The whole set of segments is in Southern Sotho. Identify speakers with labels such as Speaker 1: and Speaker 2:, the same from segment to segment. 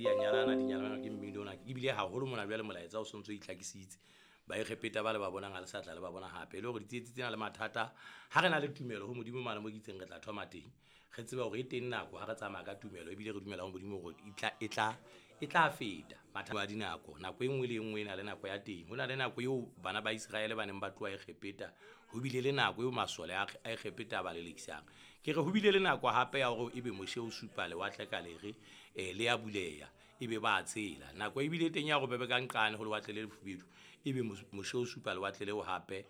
Speaker 1: di a nyalana, di nyalana ke mmino ona. Ebile haholo mona jwale molaetsa o sontso o itlhakisitse. Baegepeta ba le ba bonang ha le sa tla le ba bona hape. E le hore ditsietsi tsena le mathata, ha re na le tumelo ho Modimo mane mo ke itseng re tla thoma teng. Re tsebe hore e teng nako ha re tsamaya ka tumelo ebile re dumela ho Modimo hore e tla, e tla, e tla feta. Mathata a dinako, nako e nngwe le e nngwe e na le nako ya teng. Ho na le nako eo bana ba Iseraele ba neng ba tloha Egepeta, ho bile le nako eo masole a Egepeta a ba lelekisang. Ke re ho bile le nako hape ya hore ebe Moshe o supa lewatle ka lere, le a buleha, ebe ba a tshela. Nako e bile teng ya hore ba be ka nqane ho lewatle le lefubedu, ebe Moshe o supa lewatle leo hape,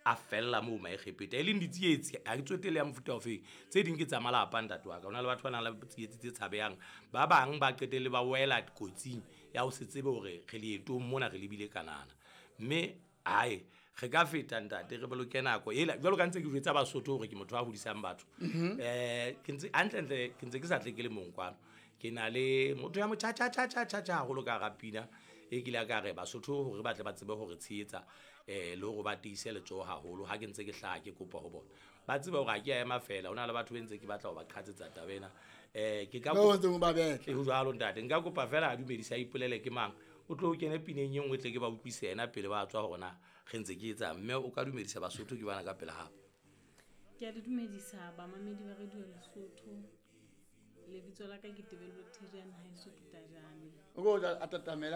Speaker 1: a fella moo Maegepeta. E leng ditsietsi, ha ke tsotelle ya mofuta ofeng. Tse ding ke tsa malapa, ntate wa ka. Ho na le batho ba nang le tsietsi tse tshabehang. Ba bang ba qetelle ba wela kotsing ya ho se tsebe hore re leetong mona re lebile Kanana. Mme hae, re ka feta ntate, re boloke nako ela. Jwalo ka ntse ke jwetsa Basotho hore ke motho a hodisang batho. Ke ntse, hantlentle, ke ntse ke sa tle ke le mong kwano. Ke na le motho ya motjha, tjha, tjha, tjha, tjha, tjha haholo ka hara pina. E kile ka re Basotho hore ba tle ba tsebe hore tshehetsa, le hore ba tiise letsoho haholo. Ha ke ntse ke hlaha ke kopa ho bona. Ba tsebe hore ha ke a ema fela, ho na le batho be ntse ke batla ho ba qhatsetsa taba ena. Ke ka
Speaker 2: Ba ntse ba betla.
Speaker 1: E ho jwalo ntate, nka kopa fela a dumedise a ipolele ke mang. O tlo kene pineng e nngwe tle ke ba utlwise yena pele ba tswa hore na re ntse ke etsang. Mme o ka dumedisa Basotho ke bana ka pela hao.
Speaker 3: Ke a le dumedisa bamamedi ba Radio Lesotho. Lebitso la ka ke Tebello Theriane, haeso ke Tajane.
Speaker 2: O ko tla a tatamela.